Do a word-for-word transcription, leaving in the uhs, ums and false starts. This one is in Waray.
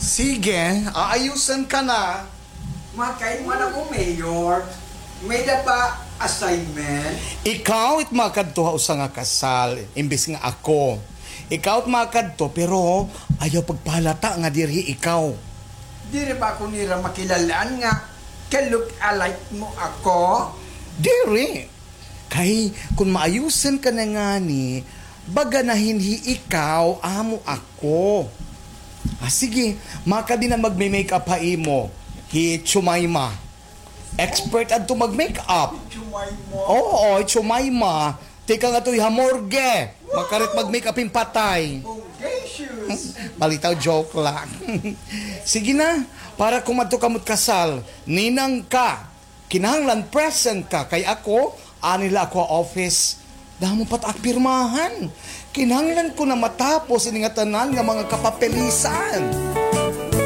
Sige, aayusan ka na. Makain man ako, Mayor. May-ada ba assignment? Ikaw it makadto ha usa nga kasal, imbis nga ako. Ikaw it makadto, pero ayaw pagpahalata nga diri ikaw. Diri ba ako nira makilal-an nga ka-look-alike mo ako? Diri. Kay kon maayusan ka na ngani, baga na hinhi ikaw, amo ako. Ah, sige, makadi na magme-makeup ha imo, hi Chumayma. Expert adto mag-makeup. Chumayma? Oo, Chumayma. Tikang adto ha morgue. Makarit mag-makeup hin patay. Bodacious. Balitaw, joke lang. Sige na, para kumadto kamo kasal, ninang ka. Kinahanglan present ka, kay ako, ani la ako ha office. Damo pa it ak pirmahan. Kinahanglan ko na matapos ini nga tanan nga mga kapapilisan.